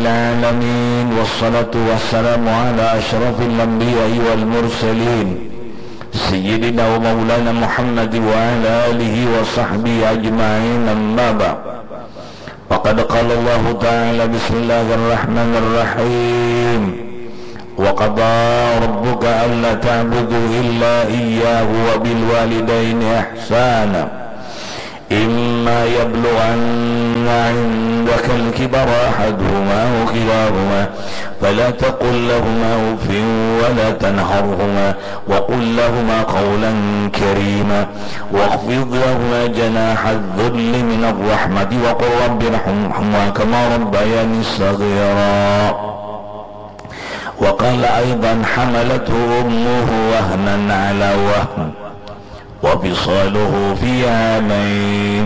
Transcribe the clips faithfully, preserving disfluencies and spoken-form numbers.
العالمين، والصلاة والسلام على أشرف الأنبياء والمرسلين، سيدنا ومولانا محمد وعلى آله وصحبه أجمعين، أما بعد. فقد قال الله تعالى: بسم الله الرحمن الرحيم. وقضى ربك ألا تعبدوا إلا إياه وبالوالدين إحسانا. إما يبلغن عندك الكبر أحدهما أو كلاهما فلا تقل لهما أف ولا تنهرهما وقل لهما قولا كريما واخفض لهما جناح الذل من الرحمة وقل رب ارحمهما كما ربياني صغيرا. وقال أيضا: حملته أمه وهنا على وهن وفصاله في عامين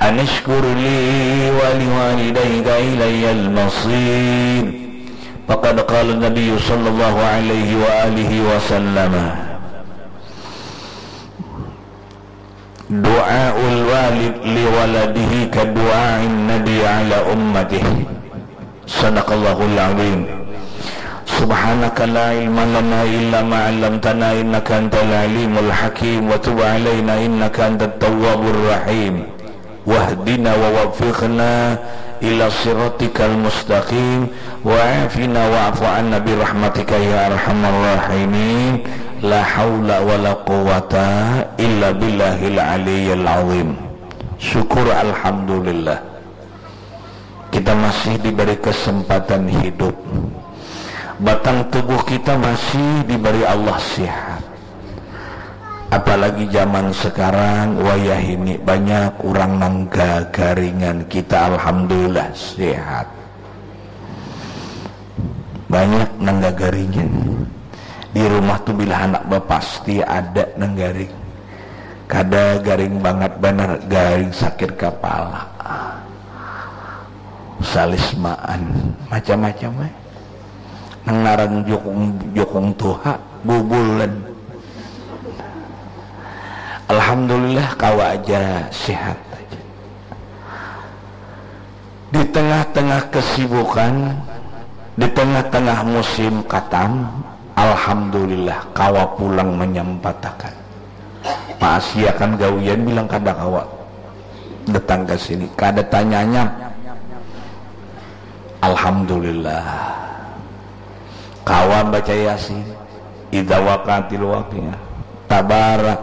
أن اشكر لي ولوالديك إلي المصير. فقد قال النبي صلى الله عليه وآله وسلم: دعاء الوالد لولده كدعاء النبي على أمته. صدق الله العظيم. سبحانك لا علم لنا إلا ما علمتنا إنك أنت العليم الحكيم وتب علينا إنك أنت التواب الرحيم. واهدنا ووفقنا إلى صراطك المستقيم وعافنا واعف عنا برحمتك يا أرحم الراحمين. لا حول ولا قوة إلا بالله العلي العظيم. Syukur alhamdulillah. Kita masih diberi kesempatan hidup. Batang tubuh kita masih diberi Allah sehat. Apalagi zaman sekarang, wayah ini banyak urang nang gagaringan. Kita alhamdulillah sehat. Banyak nang gagaringan. Di rumah tu bila handak bapasti ada nang garing. Kada garing bangat banar, garing sakit kapala. Salismaan, macam-macam ai. Nang ngaran jukung, jukung tuha, bubulan. Alhamdulillah, kawa aja sehat aja. Di tengah-tengah kesibukan, di tengah-tengah musim katam, alhamdulillah, kawa pulang manyempatakan. Maasiakan gawian bilang kada kawa datang ka sini, kada tanyanyam. Alhamdulillah. Kawa baca Yasin, idza waqatil waqiah, tabarak,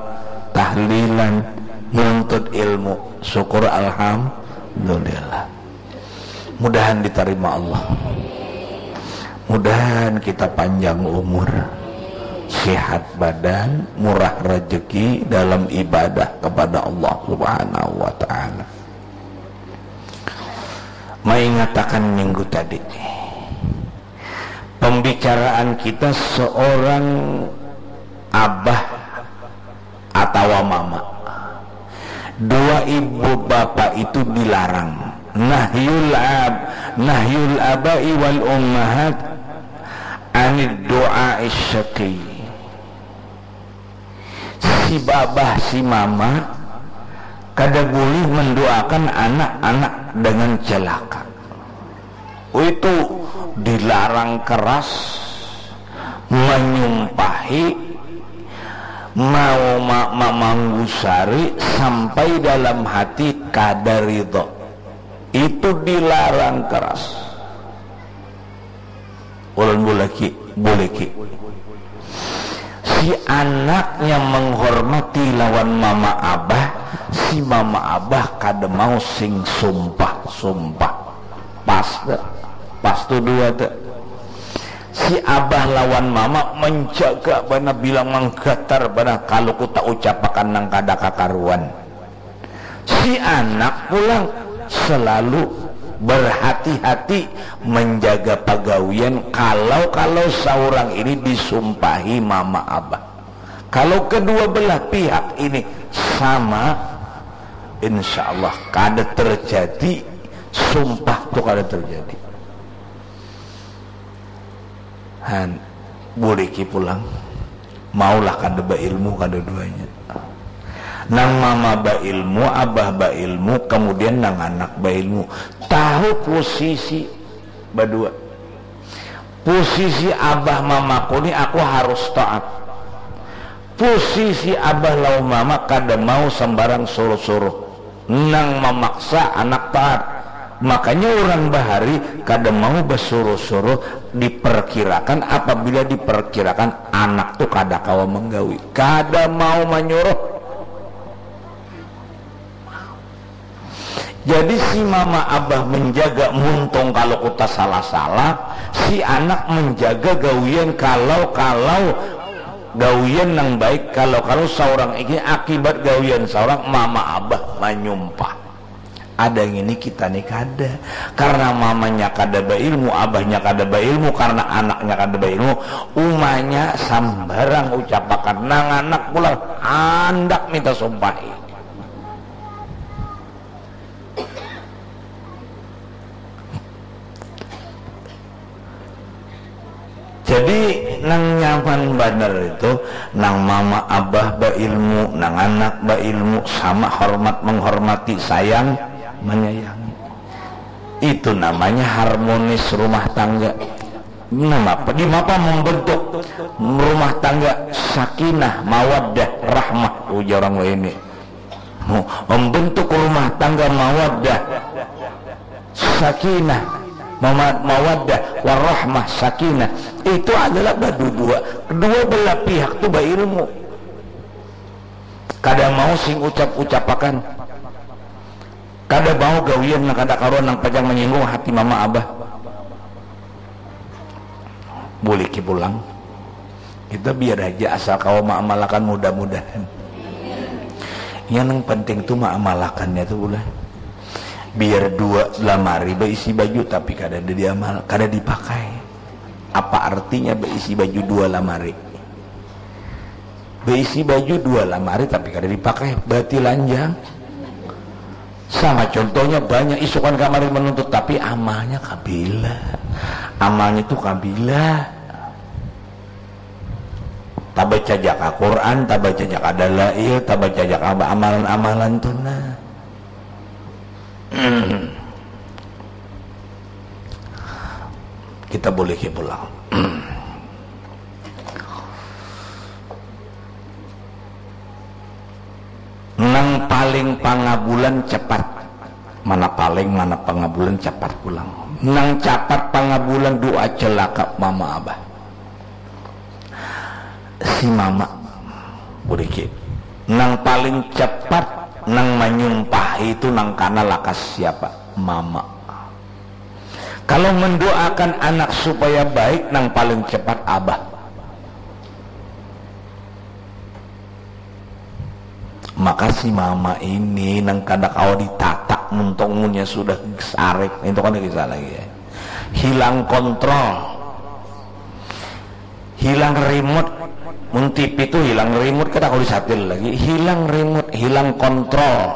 tahlilan, nuntut ilmu, syukur alhamdulillah. Mudahan ditarima Allah. Mudahan kita panjang umur, sehat badan, murah rezeki dalam ibadah kepada Allah Subhanahu wa Ta'ala. Maingatakan minggu tadi, pembicaraan kita seorang abah atawa mama. Dua ibu bapa itu dilarang. Nahyul ab, nahyul abai wal ummahat anid du'a syaqi. Si babah, si mama kada boleh mendoakan anak-anak dengan celaka. Itu dilarang keras, menyumpahi, mau ma- mamanggusari sampai dalam hati kada ridho. Itu dilarang keras. Ulun bulaki, buliki. Si anaknya menghormati lawan mama abah, si mama abah kada mau sing sumpah-sumpah. Pas tu, pas tu dua tu. Si abah lawan mama menjaga bana bilang manggatar bana kalu ku ta ucapakan nang kada kakaruan. Si anak pulang selalu berhati-hati menjaga pagawian kalau-kalau saurang ini disumpahi mama abah. Kalau kedua belah pihak ini sama, insya Allah kada terjadi sumpah tu, kada terjadi. Han, buliki pulang. Maulah kada bailmu kada duanya. Nang mama bailmu, abah bailmu, kemudian nang anak bailmu. Tahu posisi Badua. Posisi abah mamaku ni aku harus taat. Posisi abah lawan mama kada mau sambarang suruh-suruh nang mamaksa anak taat. Makanya urang bahari kada mau basuruh-suruh, diperkirakan, apabila diperkirakan anak tu kada kawa menggawi, kada mau manyuruh. Jadi si mama abah menjaga muntung kalau kuta salah-salah, si anak menjaga gawian kalau-kalau gawian nang baik, kalau-kalau saurang ini akibat gawian saurang mama abah manyumpah. Ada yang ini kita nih kada, karena mamanya kada beilmu, abahnya kada beilmu, karena anaknya kada beilmu, umanya sambarang ucapakan, nang anak pulang handak minta sumpahi. Jadi nang nyaman banar itu nang mama abah bailmu, nang anak bailmu, sama hormat menghormati, sayang menyayangi. Itu namanya harmonis rumah tangga. Nama di mapa membentuk rumah tangga sakinah, mawaddah, rahmah, ujar orang ini. Membentuk rumah tangga mawaddah, sakinah, mawaddah, warahmah, sakinah, itu adalah badudua, dua belah pihak tu bailmu. Kada mau sing ucap-ucapakan, kada mau gawian nang kada karuan nang pacang manyinggung hati mama abah. Buliki pulang. Kita biar aja asal kawa maamalakan, mudah-mudahan. Yang nang penting tu maamalakannya tu pulang. Biar dua lamari baisi baju tapi kada ada diamal, kada dipakai. Apa artinya baisi baju dua lamari? Baisi baju dua lamari tapi kada dipakai, berarti lanjang. Sama contohnya banyak isukan kamari menuntut tapi amalnya kabila. Amalnya tu kabila. Tabaca jaka Quran, tabaca jaka dalail, tabaca jaka amalan-amalan tu nah. Kita boleh pulang. Nang paling pangabulan cepat. Mana paling, mana pangabulan cepat pulang. Nang cepat pangabulan doa celaka mama abah. Si mama, buriki. Nang paling cepat, nang manyumpah itu nang kana lakas siapa? Mama. Kalau mendoakan anak supaya baik, nang paling cepat abah. Maka si mama ini nang kada kawa ditatak muntung munnya sudah sarik, itu kada kisah lagi ya. Hilang kontrol, hilang remote. Mun T V tu hilang remote, kada kawa disatil lagi, hilang remote, hilang kontrol,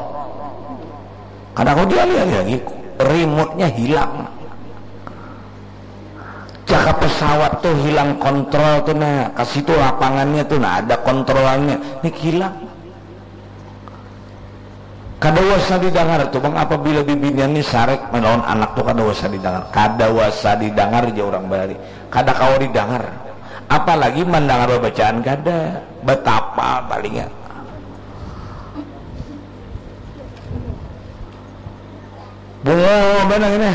kada kawa dialih-alih lagi, remote-nya hilang. Jaka pesawat tu hilang kontrol tu nah, ka situ lapangannya tu nah, ada kontrolannya, ni hilang. Kada wasa didangar tu bang, apabila bibinian ni sarik melawan anak tu kada wasa didangar, kada wasa didangar ja urang bahari, kada kawa didangar, apalagi mandangar babacaan kada, batapa palingnya. Bungo banar ini.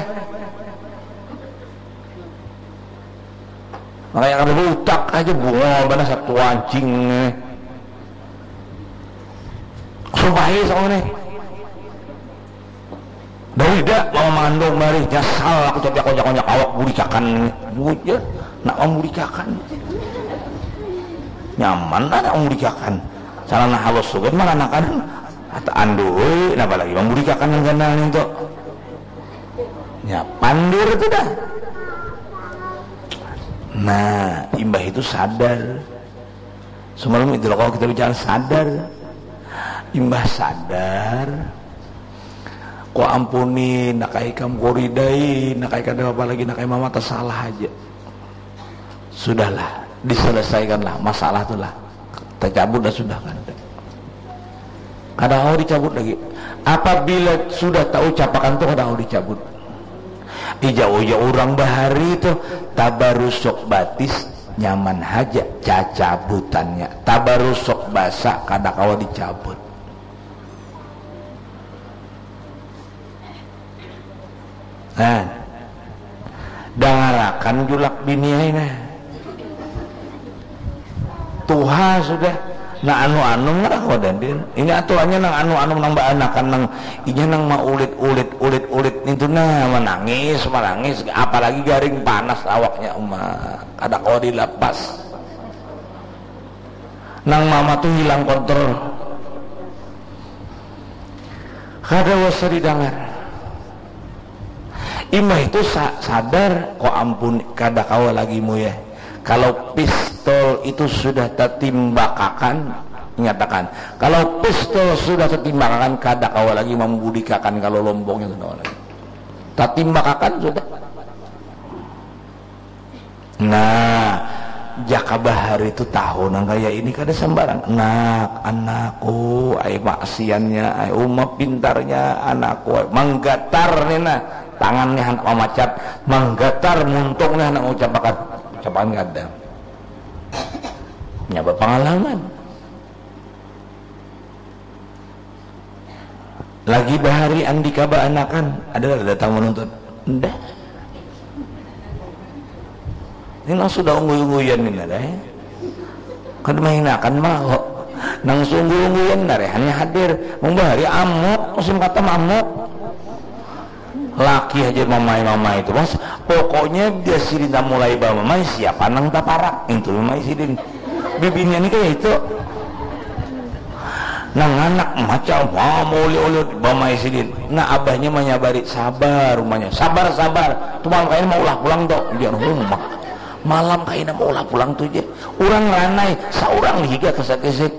Makanya kada bautak aja, bungo banar satu anjing ini. Sumpahi sama ini. Dawida mau mengandung mari nyasal aku, tapi aku jakon awak buricakan ini. Bujur, nak memburicakan. Nyaman lah nak memburicakan. Sarana halus sugan manganakan. Kata andui, napa lagi memburicakan yang ganal itu. Ya, pandir itu dah. Nah, imbah itu sadar. Semalam itu loh, kalau kita bicara sadar. Imbah sadar. Kau ampuni, nakai kam koridai, nakai kada apa lagi, nakai mama tersalah aja. Sudahlah, diselesaikanlah masalah tu lah. Tacabut dah sudah kan. Kada mau dicabut lagi. Apabila sudah taucapakan tu kada mau dicabut. Ija ujar urang bahari tuh, tabarusuk batis nyaman haja cacabutannya, tabarusuk basa kada kawa dicabut. Nah, dangarakan julak bini ai nah. Tuha sudah. Nah, anu-anu ngarang wadah din. Ini aturannya nang anu-anu nang baanakan nang inya nang maulit-ulit, ulit-ulit nintu nah, manangis, manangis, apalagi garing panas awaknya uma. Kada kawa dilapas. Nang mama tu hilang kontrol. Kada wasa didangar. Imbah itu sa- sadar, ko ampun, kada kawa lagi muya. Kalau pistol itu sudah tatimbakakan, nyatakan, kalau pistol sudah tatimbakakan, kada kawa lagi mambudikakan kalau lombongnya, kada kawa lagi. Tatimbakakan sudah. Nah, jaka bahari tu tahu nang kaya ini kada sambarang. Nak, anakku, ai maksiannya, ai uma pintarnya anakku, ai manggatar ni nah, tangan ni handak mamacat, manggatar muntung ni handak ngucapakan, ucapakan kada. Nya bapangalaman. Lagi bahari Andika baanakan, ada kada datang manuntut? Nda. Ini nang sudah ungguy-ungguyan ni, nda, eh. Kada mahinakan maho. Nang suungguy-ungguyan, nda, eh, hanya hadir. Mun bahari amuk, musim katam amuk. Laki haja mamai-mamai tu, Mas. Pokoknya dia sidin mulai bamamai, siapa nang taparak? Itu mamai sidin. Bibinian ni kaya itu. Nang anak macam, wah, mauli-uli bamai sidin. Nah, abahnya manyabari, sabar umanya. Sabar, sabar. Tu malam kaina maulah pulang tu. Biar humah. Malam kaina maulah pulang tu ja. Urang ranai, saurang higa kesek-kesek.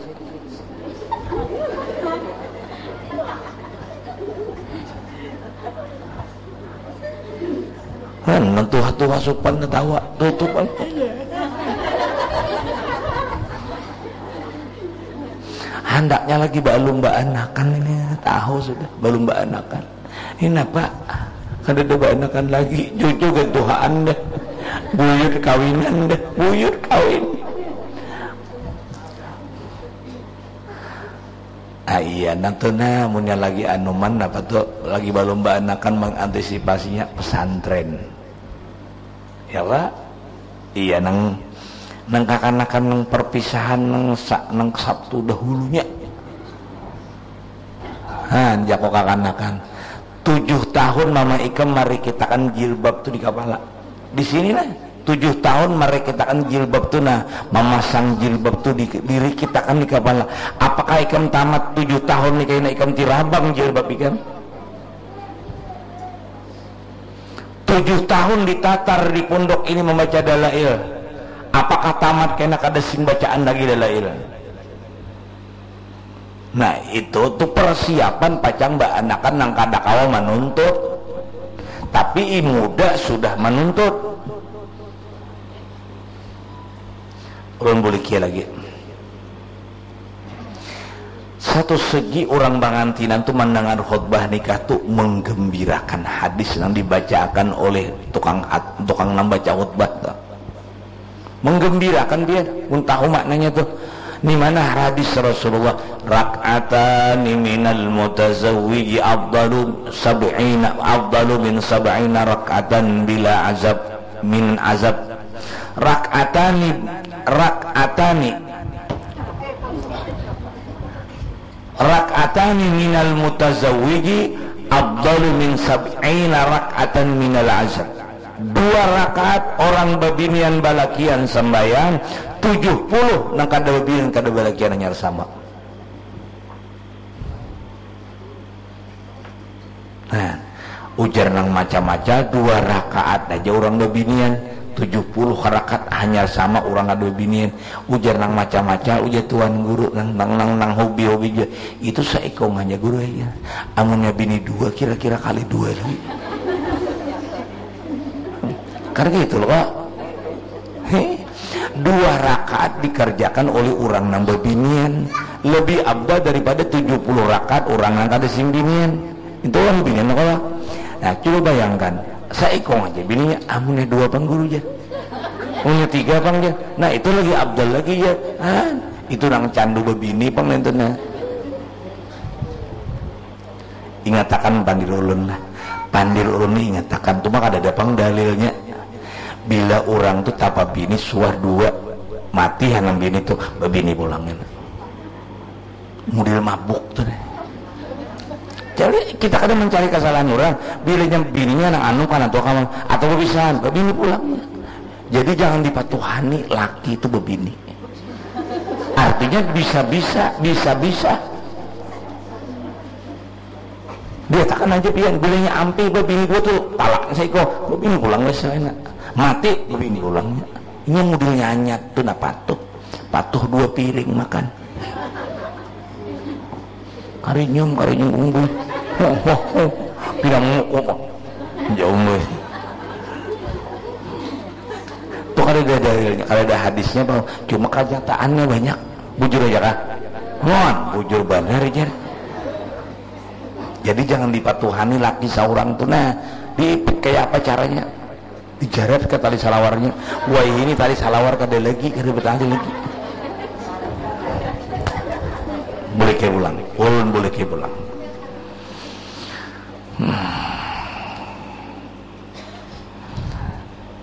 Kan nang tuha-tuha supan tatawa, tutup aja. Handaknya lagi balum baanakan ini, tahu sudah, balum baanakan. Ini napa? Kadada baanakan lagi, cucu gantuhaan dah. Buyut kawinan dah, buyut kawin. Ah, iya, nang tu nah, munnya lagi anuman apa tu, lagi balum baanakan mangantisipasinya pesantren. Ya, Pak? Iya, nang, nang kakanakan nang perpisahan nang sa-, nang Sabtu dahulunya. Nah, jako kakanakan. Tujuh tahun mama ikam marikitakan jilbab tu di kapala. Di sini nah. Tujuh tahun marikitakan jilbab tu nah, mamasang jilbab tu di, dirikitakan di kapala. Apakah ikam tamat tujuh tahun ni kaina ikam tirabang jilbab ikam? Tujuh tahun ditatar di pondok ini membaca dalail. Apakah tamat kaina kada sing bacaan lagi dalail? Nah, itu tu persiapan pacang baanakan nang kada kawa manuntut. Tapi i muda sudah manuntut. Ulun bulikia lagi. Satu segi urang pangantinan tu mandangar khutbah nikah tu menggembirakan hadis nang dibacaakan oleh tukang hat-, tukang nang baca khutbah tu. Menggembirakan dia, mun tahu maknanya tu. Ni mana hadis Rasulullah, "Rak'atani minal mutazawwiji afdalu sab'ina, afdalu min sab'ina rak'atan bila azab, min azab." Rak'atani, rak'atani. Rak'atani minal mutazawwiji afdalu min sab'ina rak'atan minal azab. Dua rakaat orang babinian balakian sambayang, tujuh puluh nang kada babinian kada balakian hanyar sama. Nah, ujar nang maca-maca, dua rakaat aja urang babinian, tujuh puluh rakaat hanyar sama urang kada babinian. Ujar nang maca-maca, ujar tuan guru, nang, nang, nang, nang hobi-hobi ja, itu saikung haja guru aja. Amunnya bini dua, kira-kira kali dua lagi. Kan gitu loh, Pak. Heh. Dua rakaat dikerjakan oleh urang nang babinian lebih afdal daripada tujuh puluh rakaat urang nang kada sing binian. Itu urang binian kalo. Nah, coba bayangkan, Saikung aja bininya, amunnya dua pang guru jar. Punya tiga pang jar. Nah, itu lagi abdal lagi jar. Ah, itu nang candu babini pang itu nah. Ingatakan pandir ulun lah. Pandir ulun ni ingatakan. Cuma kada ada pang dalilnya. Bila orang tu tapa bini suah dua, mati hanam bini tu, babini pulang. Model mabuk tu deh. Jadi kita kada mencari kesalahan orang. Bilanya bininya nang anu kan atau kawan atau berpisahan, babini pulangnya. Jadi jangan dipatuhani laki itu babini. Artinya bisa-bisa, bisa-bisa. Dia takkan aja pian, bilanya ampi babini gua tuh talak saiko, babini pulang wes enak. Mati babini pulangnya. Ini model nyanyat tuh nah patuh. Patuh dua piring makan. Karinyum, karinyum unggul. Ho, ho, ho. Pinang muku kok. Jauh weh. Tuh kada ada dalilnya, kada ada hadisnya bang. Cuma kenyataannya banyak. Bujur aja kah? Mon, bujur banar jar. Jadi jangan dipatuhani laki seorang tuh nah. Diipit kayak apa caranya? Dijarat ke tali salawarnya. Wah, ini tali salawar kada lagi, kada bertahan lagi. Boleh ke pulang. Ulun boleh ke pulang. Hmm.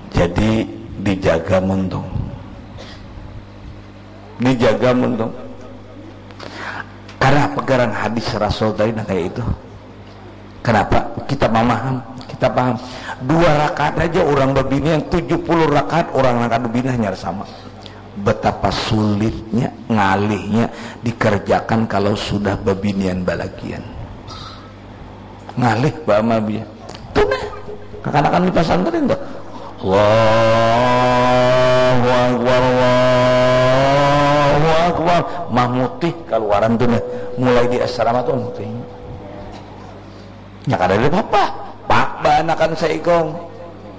Jadi dijaga muntung. Dijaga muntung. Karena pegaran hadis Rasul tadi nah kayak itu. Kenapa? Kita memaham, kita paham. Dua rakaat aja orang babini yang tujuh puluh rakaat orang nang kada bini hanya sama. Betapa sulitnya, ngalihnya dikerjakan kalau sudah babinian balagian. Ngalih baamal biar. Tuh nah, kakanakan di pesantren tuh. Allahu Akbar, Allahu Akbar. Mamutih keluaran tuh nah. Mulai di asrama tuh mutih. Ya kada ada apa-apa. Pak baanakan saikung.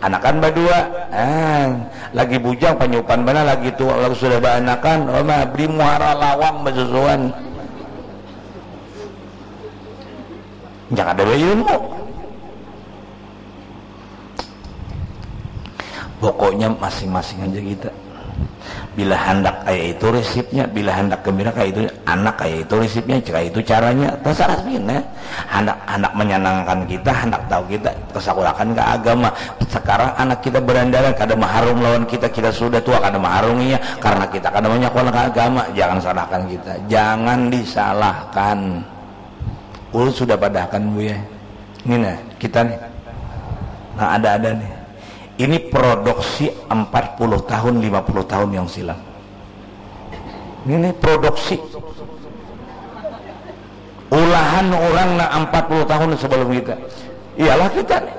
Anakan badua. Ah, lagi bujang panyupan mana lagi tua lalu sudah baanakan. Oh, mah beli muara lawang basusuan. Jangan ada ilmu. Pokoknya masing-masing aja kita. Bila handak kaya itu resipnya, bila handak gembira kaya itu, anak kaya itu resipnya, kaya itu caranya, terserah pina. Handak, handak menyenangkan kita, handak tahu kita kesakurakan ke agama. Sekarang anak kita berandalan, kada maharum lawan kita, kita sudah tua kada maharunginya, karena kita kada menyekolah ke agama. Jangan salahkan kita, jangan disalahkan. Ulun sudah padahkan buya. Ini nah, kita nih. Nah, ada-ada nih. Ini produksi empat puluh tahun, lima puluh tahun yang silam. Ini produksi. Ulahan orang nak empat puluh tahun sebelum kita. Iyalah kita nih.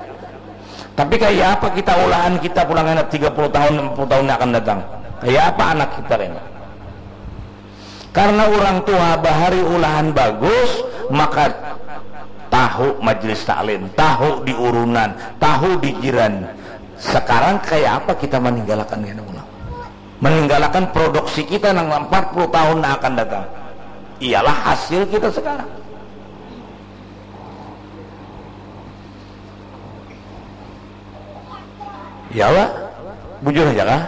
Tapi kayak apa kita ulahan kita pulang anak tiga puluh tahun, enam puluh tahun yang akan datang? Kayak apa anak kita ini? Karena orang tua bahari ulahan bagus, maka tahu majelis taklim, tahu di urunan, tahu di jiran. Sekarang kayak apa kita meninggalkan ini ulang? Meninggalkan produksi kita nang empat puluh tahun yang akan datang. Iyalah hasil kita sekarang. Iyalah, bujur aja kah?